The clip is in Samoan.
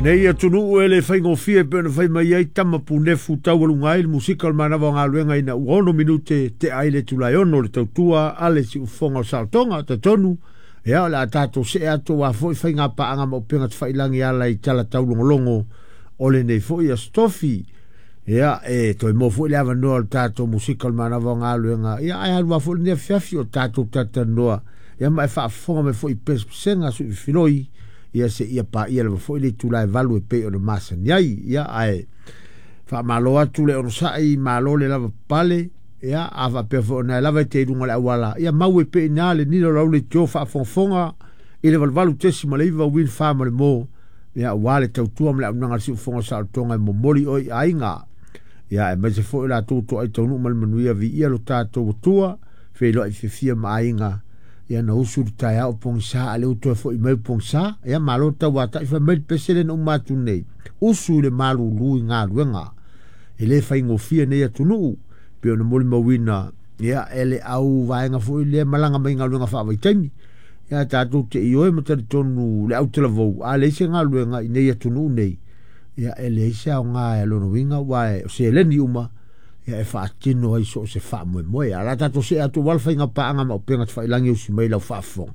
Nei atunuu e le faigofie e pei ona fai mai ai tama punefu taualuga ai le musika o le manava o galuega ina ua 6 minute tea ai le itula e 6 o le tautua a le siufofoga o Saotoga. Talitonu ia o le a tatou see atu aua foi faiga paaga ma upega tafailagi e ala i tala taulogologo o lenei foi aso tofi. Ia e toe maua foi le avanoa o le tatou musika o le manava o galuega ia ae alu lava foi lenei afiafi o tatou talatalanoa ia ma e faafofoga mai foi i pesepesega suifiloi ia seia paia lava foi le itula e 8 e pei ona masani ai. Ia ae faamalo atu le onosai, malo le lava papale. Ia a faapea foi ona e lava e te i luga o le auala, ia mau e pei ina le nila o le aule tio faafogafoga i le 88.9 Win Farm le mo ia aua le tautua ma le auaunaga a le siufofoga o Saolotoga e momoli oe i aiga. Ia aemaise foi o latou toai taunuu ma le manuia viia lo tatou Atua, feiloai fiafia ma aiga. Ia na usu le taeao o pogisa a le ua toe foi mai o pogisa. Ia malo le tauatai fai mai le pese lea na uma atu nei. Usu i le malulu i galuega. E le faigofie nei atunuu pei ona molimauina ia e le au vaega foi lea malaga mai galuega faavaitaimi. Ia tatou te ioe ma talitonu le autalavou a leai se galuega i nei atunuu nei. Ia e leai se aoga e lona uiga aua o seleni uma ia e faatino ai so o se faamoemoe. A o le a tatou see atu aua le faiga paaga ma upega tafailagi e usi mai lau faafofoga.